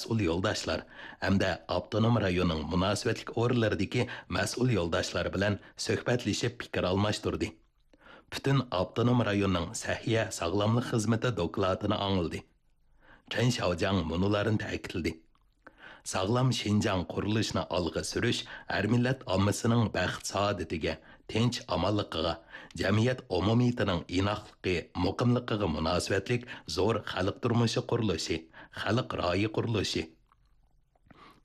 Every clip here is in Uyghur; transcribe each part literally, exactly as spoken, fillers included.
مەسئۇل يولداشلار ھەمدە ئاپتونوم رايوننىڭ مۇناسىۋەتلىك ئورۇنلىرىدىكى مەسئۇل يولداشلار بىلەن سۆھبەتلىشىپ پىكىر ئالماشتۇردى. پۈتۈن ئاپتونوم رايوننىڭ سەھىيە ساغلاملىق خىزمىتى دوكلاتىنى ئاڭلىدى. چېن شياۋجياڭ مۇنۇلارنى تەكىتلىدى: ساغلام شىنجاڭ قۇرۇلۇشىنى ئالغا سۈرۈش ھەر مىللەت ئاممىسىنىڭ بەخت-سائادىتىگە، تىنچ-ئامانلىقىغا، جەمئىيەت ئومۇمىيىتىنىڭ ئىناقلىقى، مۇقىملىقىغا مۇناسىۋەتلىك زور خەلق تۇرمۇشى قۇرۇلۇشى، خەلق رايى قۇرۇلۇشى،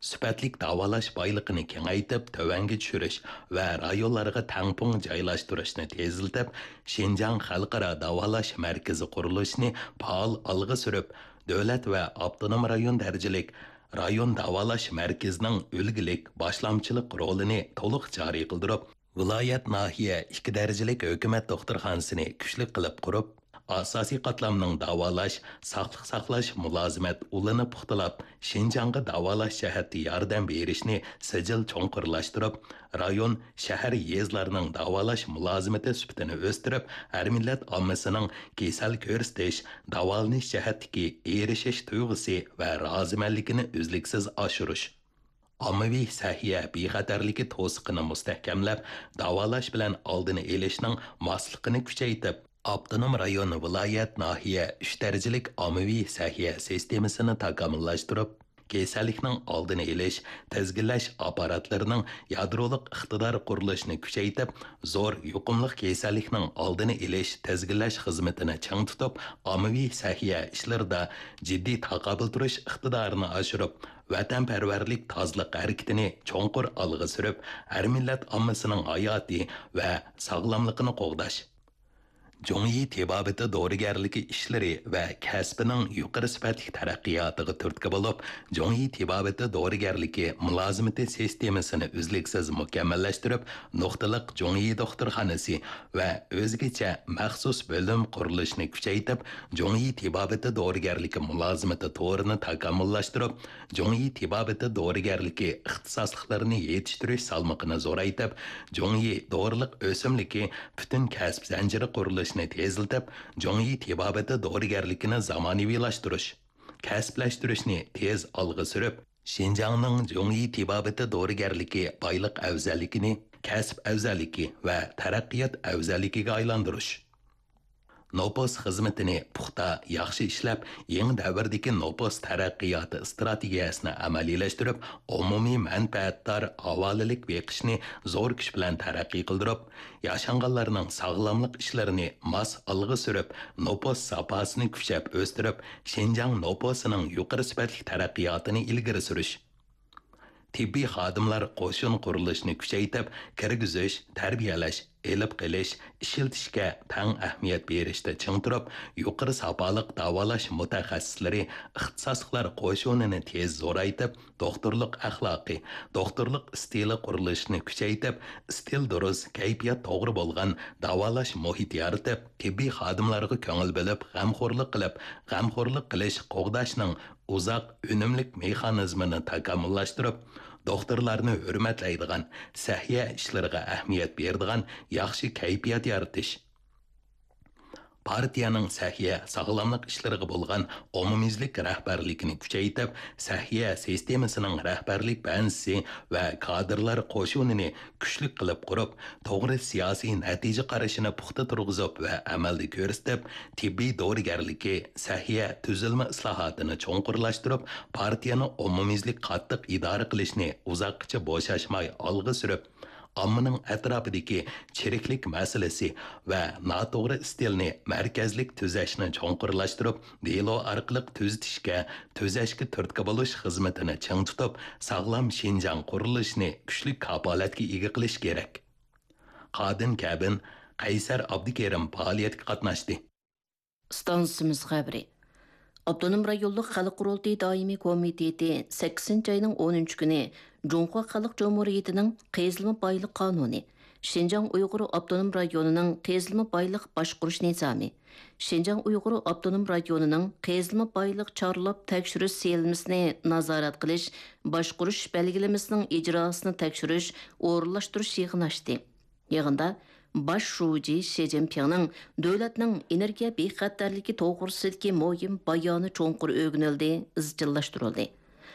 سۈپەتلىك داۋالاش بايلىقىنى كېڭەيتىپ تۆۋەنگە چۈشۈرۈش ۋە رايونلارغا تەڭپۇڭ جايلاشتۇرۇشنى تېزلىتىپ، شىنجاڭ خەلقئارا داۋالاش مەركىزى قۇرۇلۇشىنى پائال ئالغا سۈرۈپ، دۆلەت ۋە ئاپتونوم رايون دەرىجىلىك رايون داۋالاش مەركىزىنىڭ ئۈلگىلىك باشلامچىلىق رولىنى تولۇق جارى قىلدۇرۇپ، ۋىلايەت، ناھىيە ئىككى دەرىجىلىك ھۆكۈمەت دوختۇرخانىسىنى كۈچلۈك قىلىپ قۇرۇپ، ئاساسىي قاتلامنىڭ داۋالاش، ساقلىق ساقلاش مۇلازىمەت ئۇلىنى پۇختىلاپ، شىنجاڭغا داۋالاش جەھەتتە ياردەم بېرىشنى سىجىل چوڭقۇرلاشتۇرۇپ، رايون، شەھەر، يېزىلارنىڭ داۋالاش مۇلازىمىتى سۈپىتىنى ئۆستۈرۈپ، ھەر مىللەت ئاممىسىنىڭ كېسەل كۆرسىتىش، داۋالىنىش جەھەتتىكى ئېرىشىش تۇيغۇسى ۋە رازىمەنلىكىنى ئۈزلۈكسىز ئاشۇرۇش. ئاممىۋى سەھىيە بىخەتەرلىكى توسۇقىنى مۇستەھكەملەپ، داۋالاش بىلەن ئالدىنى ئېلىشنىڭ ماسلىقىنى كۈچەيتىپ، ئاپتونوم رايون، ۋىلايەت، ناھىيە ئۈچ دەرىجىلىك ئاممىۋى سەھىيە سىستېمىسىنى تاكامۇللاشتۇرۇپ، كېسەللىكنىڭ ئالدىنى ئېلىش، تىزگىنلەش ئاپپاراتلىرىنىڭ يادرولۇق ئىقتىدار قۇرۇلۇشىنى كۈچەيتىپ، زور يۇقۇملۇق كېسەللىكنىڭ ئالدىنى ئېلىش، تىزگىنلەش خىزمىتىنى چىڭ تۇتۇپ، ئاممىۋى سەھىيە ئىشلىرىدا جىددىي تاقابىل تۇرۇش ئىقتىدارىنى ئاشۇرۇپ، ۋەتەنپەرۋەرلىك تازىلىق ھەرىكىتىنى چوڭقۇر ئالغا سۈرۈپ، ھەر مىللەت ئاممىسىنىڭ ھاياتى ۋە ساغلاملىقىنى قوغداش. جۇڭيى تېبابىتى دورىگەرلىكى ئىشلىرى ۋە كەسپىنىڭ يۇقىرى سۈپەتلىك تەرەققىياتىغا تۈرتكە بولۇپ، جۇڭيى تېبابىتى دورىگەرلىكى مۇلازىمىتى سىستېمىسىنى ئۈزلۈكسىز مۇكەممەللەشتۈرۈپ، نۇقتىلىق جۇڭيى دوختۇرخانىسى ۋە ئۆزگىچە مەخسۇس بۆلۈم قۇرۇلۇشىنى كۈچەيتىپ، جۇڭيى تېبابىتى دورىگەرلىكى مۇلازىمىتى تورىنى تاكامۇللاشتۇرۇپ، جۇڭيى تېبابىتى دورىگەرلىكى ئىختىساسلىقلىرىنى يېتىشتۈرۈش سالمىقىنى زورايتىپ، جۇڭيى دورىلىق ئۆسۈملۈكى پۈتۈن كەسىپ زەنجىرى قۇرۇلۇشىنى تېزلىتىپ، جۇڭيى تېبابىتى دورىگەرلىكىنى زامانىۋىلاشتۇرۇش، كەسىپلەشتۈرۈشنى تېز ئالغا سۈرۈپ، شىنجاڭنىڭ جۇڭيى تېبابىتى دورىگەرلىكى بايلىق ئەۋزەللىكىنى كەسىپ ئەۋزەللىكى ۋە تەرەققىيات ئەۋزەللىكىگە ئايلاندۇرۇش. نوپۇس خىزمىتىنى پۇختا، ياخشى ئىشلەپ، يېڭى دەۋردىكى نوپۇس تەرەققىياتى ئىستراتېگىيەسىنى ئەمەلىيلەشتۈرۈپ، ئومۇمىي مەنپەئەتدار ھاۋالىلىك بېقىشنى زور كۈچ بىلەن تەرەققىي قىلدۇرۇپ، ياشانغانلارنىڭ ساغلاملىق ئىشلىرىنى ماس ئالغا سۈرۈپ، نوپۇس ساپاسىنى كۈچەپ ئۆستۈرۈپ، شىنجاڭ نوپۇسىنىڭ يۇقىرى سۈپەتلىك تەرەققىياتىنى ئىلگىرى سۈرۈش. تېببىي خادىملار قوشۇن قۇرۇلۇشىنى كۈچەيتىپ، كىرگۈزۈش، تەربىيەلەش، ئېلىپ قېلىش، ئىشلىتىشكە تەڭ ئەھمىيەت بېرىشتە چىڭ تۇرۇپ، يۇقىرى ساپالىق داۋالاش مۇتەخەسسىسلىرى، ئىختىساسلىقلار قوشۇنىنى تېز زورايتىپ، دوختۇرلۇق ئەخلاقى، دوختۇرلۇق ئىستىلى قۇرۇلۇشىنى كۈچەيتىپ، ئىستىل دۇرۇس، كەيپىيات توغرا بولغان داۋالاش مۇھىتى يارىتىپ، تېببىي خادىملارغا كۆڭۈل بۆلۈپ، غەمخورلۇق قىلىپ، غەمخورلۇق قىلىش، قوغداشنىڭ ئۇزاق، ئۈنۈملۈك مېخانىزمىنى تاكامۇللاشتۇرۇپ، دوختۇرلارنى ھۆرمەتلەيدىغان، سەھىيە ئىشلىرىغا ئەھمىيەت بېرىدىغان ياخشى كەيپىيات يارىتىش. پارتىيەنىڭ سەھىيە، ساغلاملىق ئىشلىرىغا بولغان ئومۇميۈزلۈك رەھبەرلىكىنى كۈچەيتىپ، سەھىيە سىستېمىسىنىڭ رەھبەرلىك بەنزىسى ۋە كادىرلار قوشۇنىنى كۈچلۈك قىلىپ قۇرۇپ، توغرا سىياسىي نەتىجە قارىشىنى پۇختا تۇرغۇزۇپ ۋە ئەمەلدە كۆرسىتىپ، تېببىي دورىگەرلىكى، سەھىيە تۈزۈلمە ئىسلاھاتىنى چوڭقۇرلاشتۇرۇپ، پارتىيەنى ئومۇميۈزلۈك قاتتىق ئىدارە قىلىشنى ئۇزاققىچە بوشاشماي ئالغا سۈرۈپ، ئاممىنىڭ ئەتراپىدىكى چىرىكلىك مەسىلىسى ۋە ناتوغرا ئىستىلنى مەركەزلىك تۈزەشنى چوڭقۇرلاشتۇرۇپ، دېلو ئارقىلىق تۈزىتىشكە، تۈزەشكە تۈرتكە بولۇش خىزمىتىنى چىڭ تۇتۇپ، ساغلام شىنجاڭ قۇرۇلۇشىنى كۈچلۈك كاپالەتكە ئىگە قىلىش كېرەك. قادىن كەبىن، قەيسەر ئابدۇكېرىم پائالىيەتكە قاتناشتى. ئىستانسىمىز خەۋىرى. ئاپتونوم رايونلۇق خەلق قۇرۇلتىيى دائىمىي كومىتېتى سەككىزىنچى ئاينىڭ ئونىنچى كۈنى جۇڭخۇا خەلق جۇمھۇرىيىتىنىڭ قېزىلما بايلىق قانۇنى، شىنجاڭ ئۇيغۇر ئاپتونوم رايونىنىڭ قېزىلما بايلىق باشقۇرۇش نىزامى، شىنجاڭ ئۇيغۇر ئاپتونوم رايونىنىڭ قېزىلما بايلىق چارلاپ تەكشۈرۈش سىيېلمىسىنى نازارەت قىلىش، باشقۇرۇش بەلگىلىمىسىنىڭ ئىجراسىنى تەكشۈرۈش، ئورۇنلاشتۇرۇش يىغىنى ئاچتى. يىغىندا باش شۇجى شى جىنپىڭنىڭ دۆلەتنىڭ ئېنېرگىيە بىخەتەرلىكى توغرىسىدىكى مۇھىم بايانى چوڭقۇر ئۆگىنىلدى، ئىزچىللاشتۇرۇلدى.